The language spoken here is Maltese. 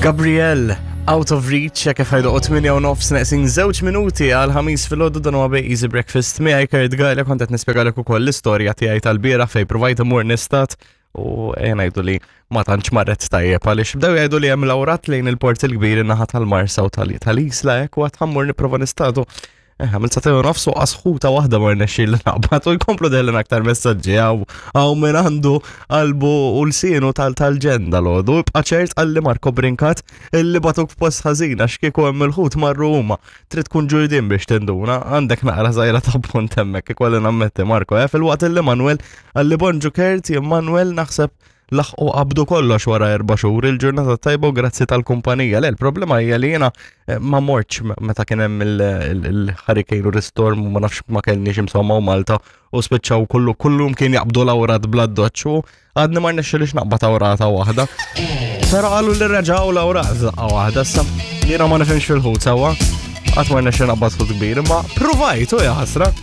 Gabriel, Out of Reach, kif ħajdu 8 u nofs neqsin żewġ minuti għal ħamis fil-ħodu dan huwa Easy Breakfast miegħi Kurt Gajla kont qed nispjegalek ukoll l-istorja tiegħi tal-bieraħ fejn provajt imur nistat u ejja ngħidu li ma tantx marret tajjeb għaliex bdew jgħidu li hemm lawrat lejn il-port il-kbir in-naħa tal-Marsa u tal-Isla hekk u għad ħammur nipprova nistadu. Eh, għamil satej u nofsu asħuta waħda ma rnexxi li naqbad u jkomplu dellin aktar messaġġi għaw għaw minn għandu qalbu u l-sienu tal-ġenda l-għodu. Ibqa ċert għalli Marko Brinkat illi batuk f'post ħażin għax kieku hemm il-ħut marru huma. Trid tkun ġurdin biex tinduna, għandek naqra żgħira ta' punt hemmhekk ikolli nammetti Marko. Eh, fil-waqt illi Manuel għalli bonġu Kert, Manuel naħseb laħqu qabdu kollox wara erba' xhur il-ġurnata tajba u grazzi tal-kumpanija. Le, il-problema hija li jiena eh, ma mortx meta kien hemm il-hurricane u l-storm u ma nafx ma kellniex insomma u Malta u spiċċaw kullu kullum kien jaqbdu l-awrat bla doċċ u għadni ma rnexxilix naqbad awrata waħda. Però qalu li reġgħu l-awrat daqqa waħda issa jiena ma nifhimx fil-ħut sewwa. Qatt ma rnexxi naqbad ħut kbir, imma provajtu ja ħasra.